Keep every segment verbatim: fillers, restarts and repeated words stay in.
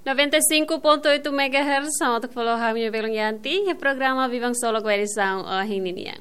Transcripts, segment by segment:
Noventa e cinco ponto oito megahertz, hamutuk ho ha'u-nia belun Yanti, iha programa Biban Solok ba edisaun ohin ninian.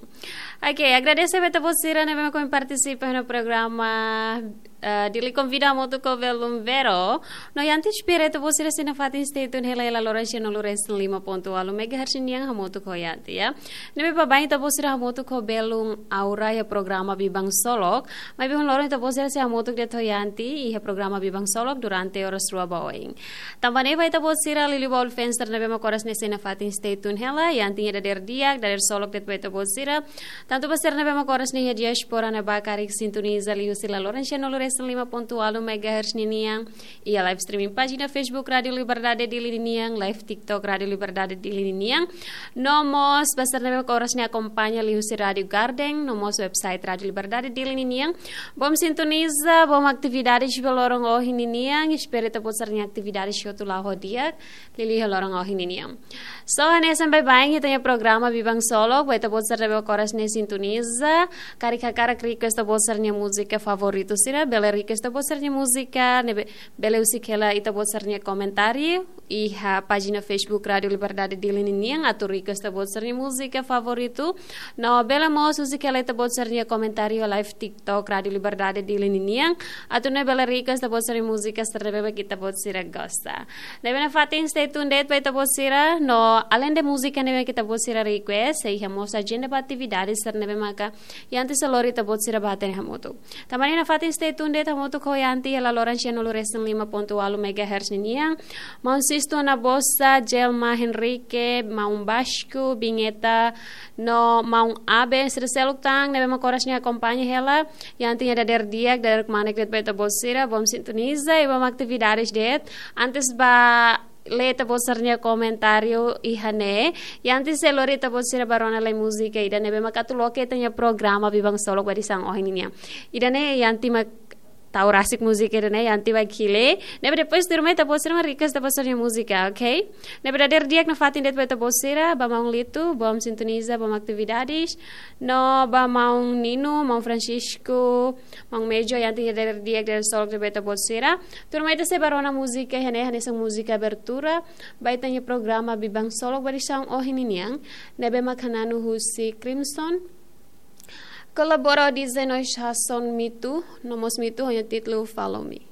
Oke, agradese ba ita-boot sira ne'ebé mak ohin partisipa iha programa, eh, Dili Konvida hamutuk ho belun Vero. No Yanti espera ita-boot sira sei nafatin stay tune hela iha laloran sianulu resin lima pontu ualu megahertz nian hamutuk ho Yanti, ya. Ne'ebé baibain ita-boot sira hamutuk ho belun Aura iha programa Biban Solok. Maibé ohin loron ita-boot sira sei hamutuk de'it ho Yanti iha programa Biban Solok durante oras rua ba oin. Tanba ne'e ba ita-boot sira liuliu ba ol fans sira ne'ebé mak oras ne'e sei nafatin stay tune hela, Yanti nia dadeer di'ak, dadeer solok de'it ba ita-boot sira. Tantu ba sira ne'ebé mak oras ne'e iha diáspora ne'ebá karik sintoniza liuhusi laloran sianulu resin lima pontu ualu megahertz ninian, iha live streaming pájina Facebook Rádio Liberdade Dili ninian, live TikTok Rádio Liberdade Dili ninian. No mós ba sira ne'ebé mak oras ne'e akompaña liuhusi Rádio Garden, no mós website Rádio Liberdade Dili ninian. Bom sintoniza, bom atividades ba loron ohin ninian, espera ita-boot sira-nia atividades hotu la'o ho di'ak, liuliu iha loron ohin ninian. So, hanesan baibain ita-nia programa Biban Solok, ba ita-boot sira ne'ebé mak oras ne'e sintoniza, karik hakarak request ita-boot sira-nia múzika favoritu sira, bele request ita-boot sira-nia múzika, ne'ebé bele husik hela ita-boot sira-nia komentáriu iha pájina Facebook Rádio Liberdade Dili ninian, atu request ita-boot sira-nia múzika favoritu. No bele mós husik hela ita-boot sira-nia komentáriu live TikTok Rádio Liberdade Dili ninian, atu nune'e bele request ita-boot sira-nia múzika sira ne'ebé mak ita-boot sira gosta. Ne'ebé nafatin stay tune de'it ba ita-boot sira, no alende múzika ne'ebé mak ita-boot sira request, sei iha mós ajenda ba atividades sira ne'ebé maka Yanti sei lori ita-boot sira ba hatene hamutuk. Tanba ne'e nafatin stay tune de'it hamutuk ho Yanti iha laloran sianulu resin lima pontu ualu megahertz ninian. Maun Sisto Nabosa, Jelma Henrique, Maun Basco, Bingeta, no Maun Abe, sira seluk tan ne'ebé mak oras ne'e akompaña hela Yanti nia dadeer di'ak, dadeer kmanek de'it ba ita-boot sira, bom sintoniza i bom atividades de'it. Antes ba lee ita-boot sira-nia komentáriu iha ne'e, Yanti sei lori ita-boot sira ba rona lai múzika ida ne'ebé mak atu loke ita-nia programa Biban Solok ba edisaun ohin ninian. Ida-ne'e Yanti mak tau rasik múzika ida-ne'e, Yanti bá hili. Ne'ebé depois tuirmai ita-boot sira mak request ita-boot sira-nia múzika, oke? Ne'ebé dadeer di'ak nafatin de'it ba ita-boot sira, ba Maun Lito, bom sintoniza, bom atividades. No ba Maun Nino, Maun Francisco, Maun Mejo, Yanti nia dadeer di'ak, dadeer solok de'it ba ita-boot sira. Tuirmai ita sei bá rona múzika iha ne'e, hanesan múzika abertura ba ita-nia programa Biban Solok ba edisaun ohin ninian, ne'ebé mak hananu husi Crimson. Kolabora ho dezanove Hason Mitu, no mós Mitu ho nia títulu Follow Me.